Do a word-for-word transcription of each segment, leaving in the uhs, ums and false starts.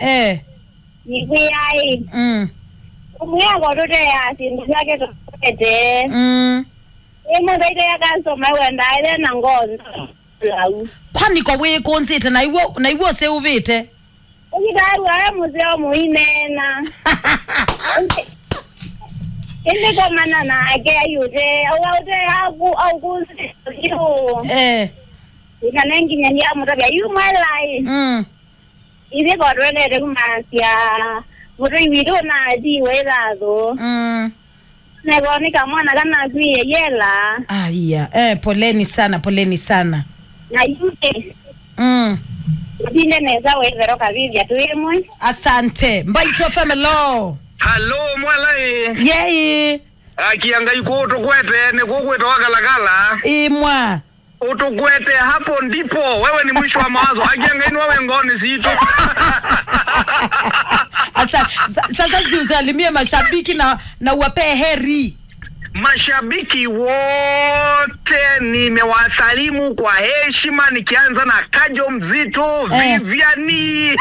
Eh. Nĩkwĩaĩ. Mm. Ũmwĩa kotũteaa syĩndũ syake tũkwete. Mm. Ĩmwe ndaitaya kasoma wendaa ĩle na ngoo nthau. Kwani ko wĩkũnzĩte na iw'o, na iw'o ũseũvĩte? Ũkĩtaĩwa e mũseo mũineena. Ĩndĩ komana nake aiũte, aua ũte aku, aũkũnzĩte vyũ. Eh. Ĩkana nginya ndiamũtavya, yu mwelaĩ. Mm. Ithyĩ kwa tũendete kumanyĩsya mũtũi witũ ũnatiwe ĩthathũ. Mm. Nĩvo nĩ kamwana kanakwĩe yela. Aya, eh, poleni sana, poleni sana. Na yuke. Mm. Ũtinde nesa wĩthero kavivya twĩmwe. Asante. Mbaitũ F M, hello. Hello, mwela ĩ. Yei. Akia Ngai kũũ tũkwete, nĩ kũũ kwĩtawa Kalakala. Imwa. Utukwete hapo ndipo, wewe ni mwisho wa mawazo. Akia Ngai nĩwe wĩ ngoonĩ sitũ. Asa, sa-, sasa si usalimie mashabiki na, na uwapee heri. Mashabiki wote nimewasalimu kwa heshima, nikianza na Kajo Mzito, eh, Viviani,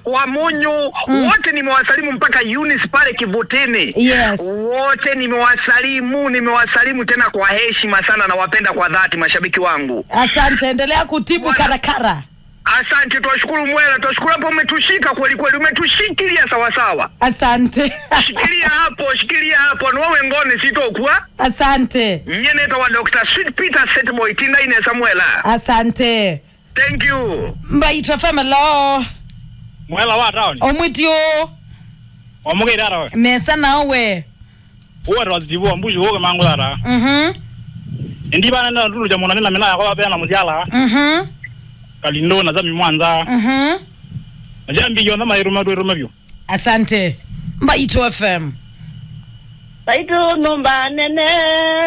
Wamunyu, mm, wote nimewasalimu mpaka Eunice pale Kivutini. Yes. Wote nimewasalimu, nimewasalimu tena kwa heshima sana, nawapenda kwa dhati mashabiki wangu. Asante, endelea kutibu Bwana. Karakara. Asante, twashukuru Mwela, twashukuru hapo umetushika kweli kweli, umetushikilia sawa sawa. Asante. Shikilia hapo, shikilia hapo, nĩwe wĩ ngoonĩ sitũ ũkw'a. Asante. Nyie nĩtawa Doctor Sweet Peter Setboy, tinda inesa Mwela. Asante. Thank you. Mbaitũ F M, hello. Mwela wa town. Omwitio. Omũkĩte ata we? Nesa nawe. Uwe twa Steve wa Mbushi, uwe mangu tata. Mhm. Indi bana na ndulu ja mwana nina mina yakwa bena muziala. Mhm. Kalindo na zami mwanza. Mhm. Na jambi yo na mairu matu iru mabyo. Asante. Mbaitũ F M. Mbaitũ nyũmba nene,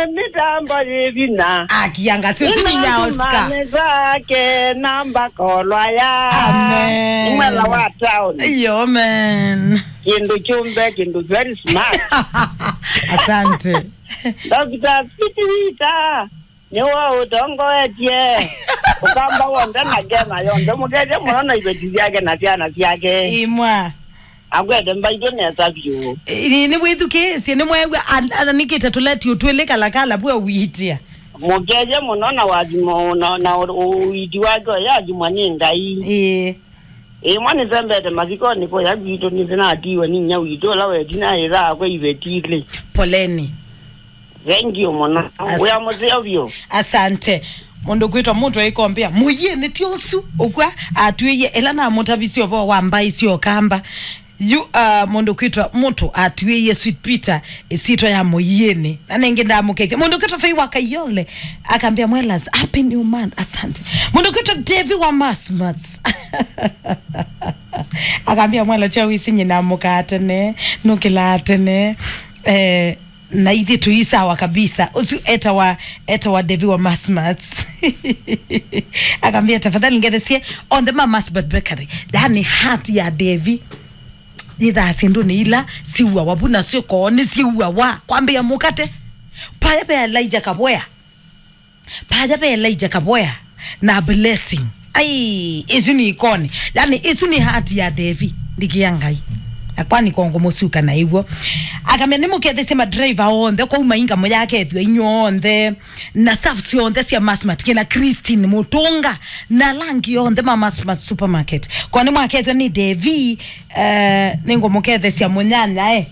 mĩtambo yĩ vinya. Akianga sio sini nya Oscar. Nĩ zake namba kolwa ya. Amen. Nĩ Mwela wa town. Yo, man. Kĩndũ kyũmbe, kĩndũ very smart. Asante. Doctor Sweet Peter. Nĩwe ũtongoetye ũkamba w'onthe na Kenya yonthe. Mũkethye mũno na iveti syake na syana syake. Imwa. Akwete Mbaitũ nesa vyũ. Ĩ, nĩ wĩthukĩĩsye, nĩ mweew'a an-, ananĩkĩte tũletiũ twĩlĩ Kalakala vwe ũitia. Mũkethye mũno na wathimo na, na ũ-, ũiti wake ũyathimwa nĩ Ngai. Ĩĩ. Ĩmwe nĩsembete mathikonĩ kũya kwitũ, nĩsĩnatiwe nĩ inyia witũ ũla wetina ĩthaa kwa iveti ilĩ. Poleni. Thank you mũno. As-, wĩa mũseo vyũ. Asante. Mũndũ kwĩtwa mũndũ aikombea mũyĩnĩ ti ũsu ũkw'a atwĩie ĩla namũtavisye ũvoo wa mbaĩ sya ũkamba. Yu, uh, mũndũ kwĩtwa mũndũ atwĩie Sweet Peter ĩsyĩtwa ya mũyĩnĩ. Na nĩngĩ ndamũkethya. Mũndũ kwĩtwa Fei wa Kayole akambĩa, "Mwelas, happy new month." Asante. Mũndũ kwĩtwa Devi wa Masmats akambĩa, "Mwela, kya wĩsĩ nyina mũkaa tene, nũkĩlaa tene." Eh, na ithyĩ tũi sawa kabisa. Ũsu etawa, etawa Devi wa Masmats. Akambĩa, "Tafadhali ngethesie onthe ma Masmat Bakery." Yani heart ya Devi. Yĩthaa syĩndũnĩ ila siuawa vu nasyo koo nĩsiuawa. Kwambĩa mũkate. Paya ve Elijah Kaboya. Paya ve Elijah Kaboya na Blessing. Ai, isu nĩ ikoni. Yani, isu nĩ heart ya Devi. Ndikia Ngai. Na kwani kongo mũsuka na ĩw'o. Akamya nĩmũkethesye madriver onthe, kwa mainga mũyakethw'a inyuonthe. Na staff syonthe sya Masmart, kina Christine Mutunga, na langi onthe ma Masmart Supermarket. Kwa nĩmwakethw'a nĩ Devi, eh, nĩngũmũkethesya mũnyanya, eh.